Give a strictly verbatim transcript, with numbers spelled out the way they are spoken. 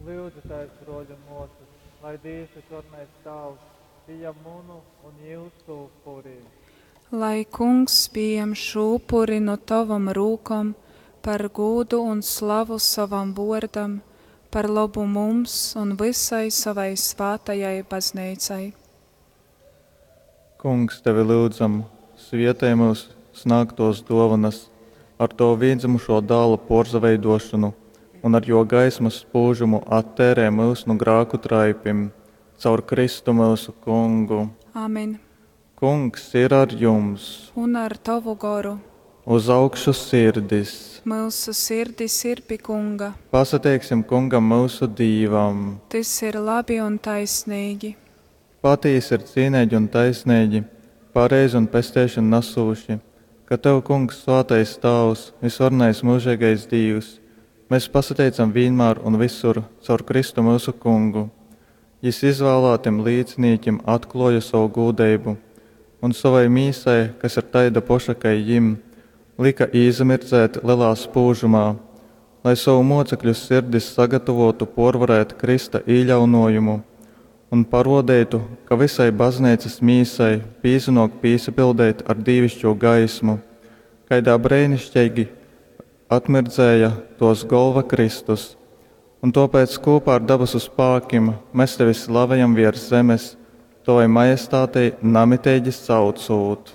Lyudzitēs, bruoļi un muosys, lai Dīvs Vysvarenais Tāvs pījam munu un jiusu upuri. Lai Kungs pījam šū upuri nu tovom rūkom par gūdu un slavu sovam vuordam, par lobu mums un vysai sovai svātajai Bazneicai. Kungs, tevi lyudzam, svietej myusu snāgtōs dōvonas ar tovu Vīndzymušō Dāla pōrsaveidōšonu un ar jō gaismas spūžumu atteirej myus nu grāku traipim. Caur Kristu myusu Kungu. Amen. Kungs ir ar jums! Un ar tovu goru. Uz augšu sirdis! Myusu sirdis ir pi Kunga. Pasateiksim Kungam myusu Dīvam! Tys ir labi un taisneigi. Patīsi ir cīneigi un taisneigi, pareizi un pesteišonu nasūši, ka tev, Kungs, svātais Tāvs, vysvarenais myužeigais Dīvs, mes pasateicam vīnmār un vysur caur Kristu myusu Kungu. Jys izvālātim līcinīkim atklōja sovu gūdeibu, un sovai mīsai, kas ir taida poša kai jim, lyka īsamirdzēt lelā spūžumā, lai sovu mōcekļu sirdis sagatavōtu pōrvarēt krysta īļaunōjumu un parōdeitu, ka vysai Bazneicas mīsai pīsanōk pīsapildeit ar dīviškū gaismu, kaidā breiniškeigi atmirdzēja tōs Golva Kristus. Un tōpēc kūpā ar dabasu spākim mes tevi slavejam vērs zemes, tovai majestātei namiteigi saucūt.